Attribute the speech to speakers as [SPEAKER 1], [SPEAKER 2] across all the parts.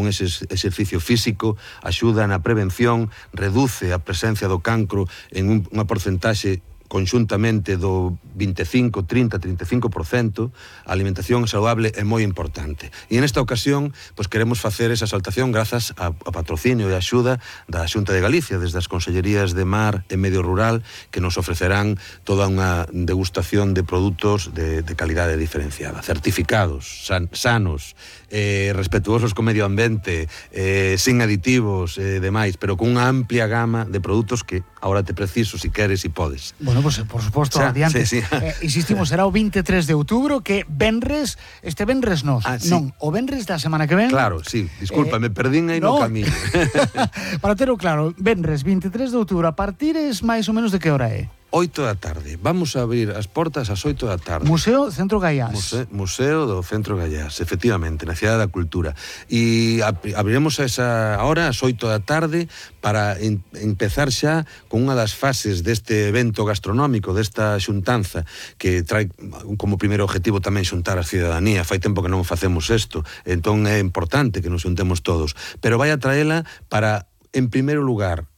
[SPEAKER 1] con ese exercicio físico, axuda na prevención, reduce a presencia do cancro en unha porcentaxe conxuntamente do 25, 30, 35%. A alimentación saludable é moi importante. E en esta ocasión, pois queremos facer esa exaltación grazas ao patrocinio e a axuda da Xunta de Galicia, desde as Consellerías de Mar e Medio Rural, que nos ofrecerán toda unha degustación de produtos de calidade diferenciada, certificados, sanos, respetuosos co medio ambiente, sin aditivos e demais, pero con unha amplia gama de produtos que agora te preciso, si queres e podes.
[SPEAKER 2] Bueno, pues por suposto, adiante.
[SPEAKER 1] Sí.
[SPEAKER 2] Insistimos, será o 23 de outubro, que venres, este venres non, o venres da semana que ven.
[SPEAKER 1] Claro, sí, disculpa, me perdín aí no camiño.
[SPEAKER 2] Para terlo claro, venres 23 de outubro, a partir es máis ou menos de que hora é?
[SPEAKER 1] 8 da tarde. Vamos a abrir as portas ás 8 da tarde.
[SPEAKER 2] Museo Centro Gaiás.
[SPEAKER 1] Museo do Centro Gaiás, efectivamente, na Cidade da Cultura. E abriremos a esa hora, ás 8 da tarde, para empezar xa con unha das fases deste evento gastronómico, desta xuntanza, que trae como primeiro objetivo tamén xuntar a cidadanía. Fai tempo que non facemos isto, entón é importante que nos xuntemos todos. Pero vai a traela para, en primeiro lugar,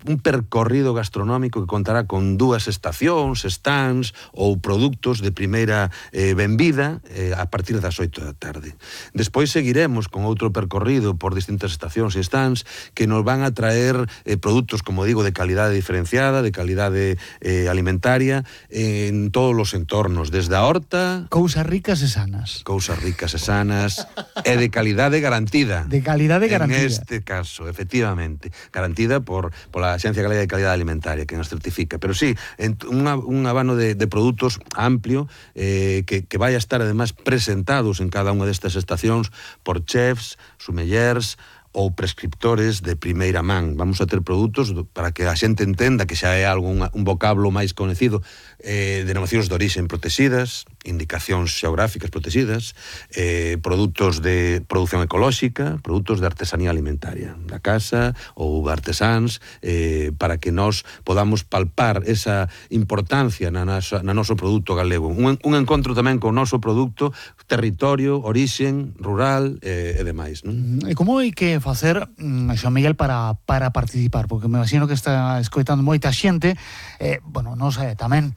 [SPEAKER 1] un percorrido gastronómico que contará con 2 estacións, stands ou produtos de primeira benvida a partir das 8 da tarde. Despois seguiremos con outro percorrido por distintas estacións e stands que nos van a traer produtos, como digo, de calidade diferenciada, de calidade alimentaria en todos os entornos, desde a horta...
[SPEAKER 2] Cousas ricas e sanas.
[SPEAKER 1] Cousas ricas e sanas e de calidade garantida.
[SPEAKER 2] De calidade garantida.
[SPEAKER 1] En este caso, efectivamente. Garantida por la Axencia Galega de Calidade Alimentaria, que nos certifica. Pero sí, un abano de produtos amplio que vai a estar, además, presentados en cada unha destas estacións por chefs, sommeliers ou prescriptores de primeira man. Vamos a ter produtos para que a xente entenda que xa é algo, un vocablo máis conhecido, denominacións de orixen protegidas, indicacións xeográficas protegidas, produtos de produción ecolóxica, produtos de artesanía alimentaria da casa ou artesáns, para que nós podamos palpar esa importancia na noso produto galego. Un encontro tamén con o noso produto, territorio, orixen, rural e demais, non?
[SPEAKER 2] E como hai que facer, Xoán Miguel, para participar? Porque me imagino que está escoitando moita xente, bueno, non sei, tamén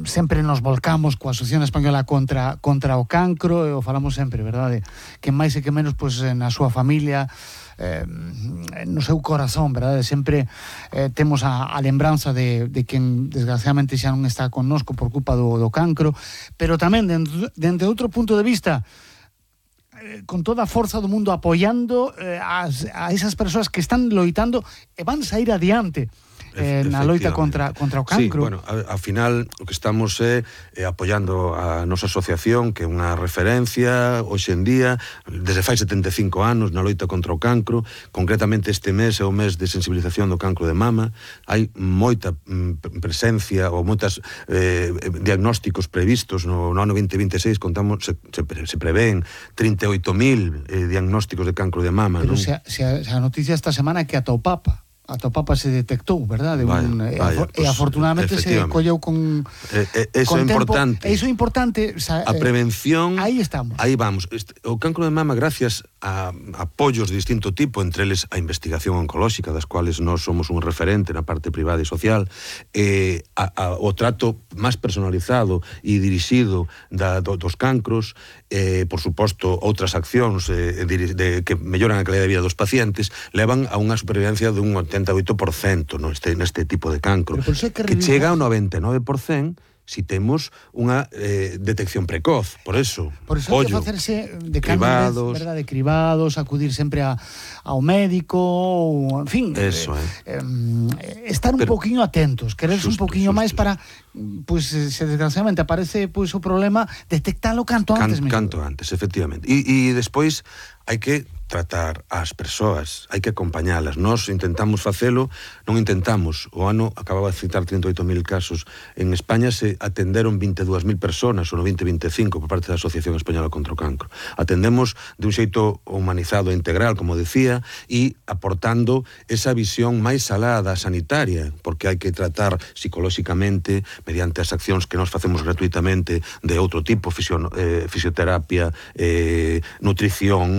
[SPEAKER 2] sempre nos volcamos coa Asociación Española contra o cancro, e o falamos sempre, verdade? Que máis e que menos, na súa familia, no seu corazón, verdade? Sempre temos a lembranza de quen desgraciadamente xa non está connosco por culpa do cancro, pero tamén dende outro punto de vista, con toda a forza do mundo apoiando a esas persoas que están loitando e van sair adiante na loita contra o cancro.
[SPEAKER 1] Sí, bueno, ao final o que estamos é apoiando a nosa asociación, que é unha referencia hoxe en día, desde fai 75 anos na loita contra o cancro. Concretamente este mes é o mes de sensibilización do cancro de mama. Hai moita presencia ou moitas diagnósticos previstos no ano 2026. Contamos, se prevén 38.000 diagnósticos de cancro de mama.
[SPEAKER 2] Pero se a noticia esta semana é que ata o Papa se detectou, verdade? E afortunadamente se colleu con
[SPEAKER 1] eso é importante.
[SPEAKER 2] Iso é importante.
[SPEAKER 1] A prevención...
[SPEAKER 2] Aí estamos.
[SPEAKER 1] Aí vamos. O cancro de mama, gracias a apoios de distinto tipo, entre eles a investigación oncolóxica, das cuales nós somos un referente na parte privada e social, o trato máis personalizado e dirixido dos cancros, por suposto, outras accións que melloran a calidad de vida dos pacientes, levan a unha supervivencia dun 88% neste tipo de cancro, que chega ao 99% si temos unha detección precoz. Por eso
[SPEAKER 2] hai que facerse de cribados, de cribados, acudir sempre ao médico, ou, en fin, estar un poquinho atentos, quererse un poquinho máis para, se desgraciadamente aparece o problema, detectalo canto antes.
[SPEAKER 1] Canto antes, efectivamente. E despois hai que tratar as persoas, hai que acompañalas. Nós intentamos facelo, non intentamos. O ano acababa de citar 38.000 casos. En España se atenderon 22.000 personas, no 2025, por parte da Asociación Española contra o Cancro. Atendemos de un xeito humanizado e integral, como decía, e aportando esa visión máis alada sanitaria, porque hai que tratar psicolóxicamente, mediante as accións que nós facemos gratuitamente de outro tipo, fisioterapia, nutrición,